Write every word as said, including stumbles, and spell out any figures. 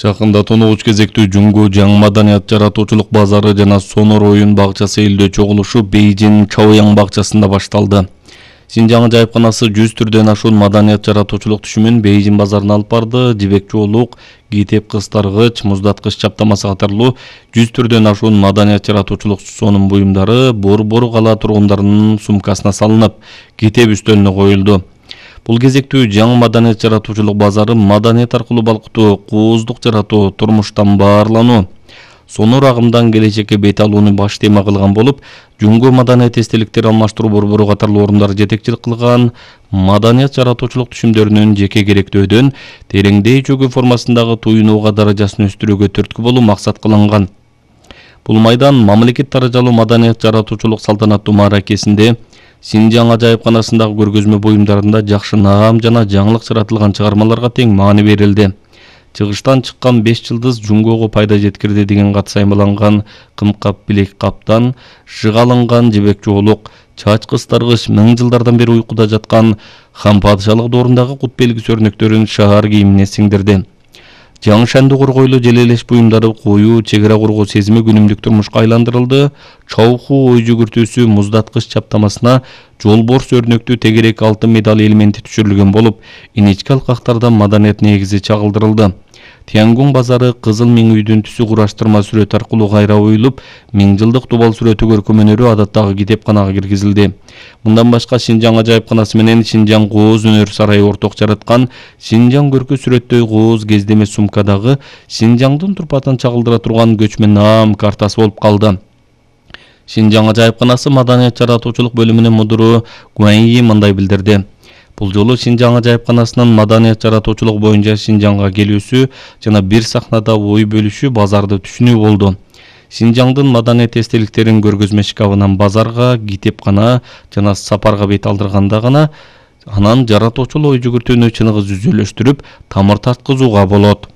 Жакында тоногуч кезектүү Жуңгу жаңы маданият жаратуучулук базары жана сонор оюн бакчасы элдөө чогулушу Бейжин Чаояң бакчасында башталды. Синжаң ажайыпканасы жүз түрдөн ашуун маданият жаратуучулук түшүмүн Бейжин базарына алып барды. Жибек жоолук, китеп кыстаргыч, муздаткыч чаптамасы катарлуу жүз түрдөн ашуун маданият жаратуучулук сонун буюмдары Борбор кала тургундарынын сумкасына салынып, китеп үстөлүнө коюлду. Бул кезектүү жаңы маданият жаратуучулук базары маданият аркылуу балкытуу, кооздук жаратуу, турмуштан баарлануу, сонор агымдан келечекке бет алууну баш тема кылган болуп, Жуңгу маданият эстеликтер алмаштыруу борбору катарлуу орундар жетекчилик кылган маданият жаратуучулук түшүмдөрүнүн жеке керектөөдөн тереңдей чөгүү формасындагы туюнууга даражасын өстүрүүгө түрткү болуу максат кылынган. Бул майдан мамлекет даражалуу маданият жаратуучулук салтанаттуу мааракесинде Синжаң ажайыпканасындагы көргөзмө буюмдарында жакшы наам жана жаңылык жаратылган чыгармаларга тең маани берилди. Чыгыштан чыккан беш жылдыз Жуңгуга пайда жеткирди деген кат саймаланган кымкап билек каптан, жыгалынган жибек жоолук, чач кыстаргыч, миң жылдардан бери уйкуда жаткан хан падышалык доорундагы кут белгиси өрнөктөрүн шаар кийимине сиңдирди. Жаңы шанды коргойлуу желелеш буюмдары коюу, чегара коргоо сезими күнүмдүк турмушка айландырылды. Чауху ой жүгүртүүсү муздаткыч чаптамасына жолборс өрнөктүү тегерек алтын медаль элементи түшүрүлгөн болуп, инечке алкактарда маданият негизи чагылдырылды. Тиангун базары кызыл миң үйдүн түсү кураштырма сүрөт аркылуу кайра оюлуп, миң жылдык тубал сүрөтү көркөмөнөрү адаттагы китепканага киргизилди. Мындан башка Синжаң ажайыпканасы менен Синжаң кооз өнөр сарайы орток жараткан Синжаң көркө сүрөттөй кооз кездеме сумкадагы Синжаңдын турпатын чагылдыра турган көчмө наам картасы болуп калды. Синжаң ажайыпканасы маданият жаратуучулук бөлүмүнүн мудуру Гуаньи мындай билдирди. Бул жолу Синжаң ажайыпканасынын маданият жаратуучулук боюнча Синжаңга келүүсү жана бир сахнада ой бөлүшүү базарды түшүнүү болду. Синжаңдын маданият эстеликтерин көргөзмө шкафынан базарга, китепкана жана сапарга бет алдырганда гана анан жаратуучул ой жүгүртүүнү чыныгы жүзөлөштүрүп, тамыр тарткызууга болот.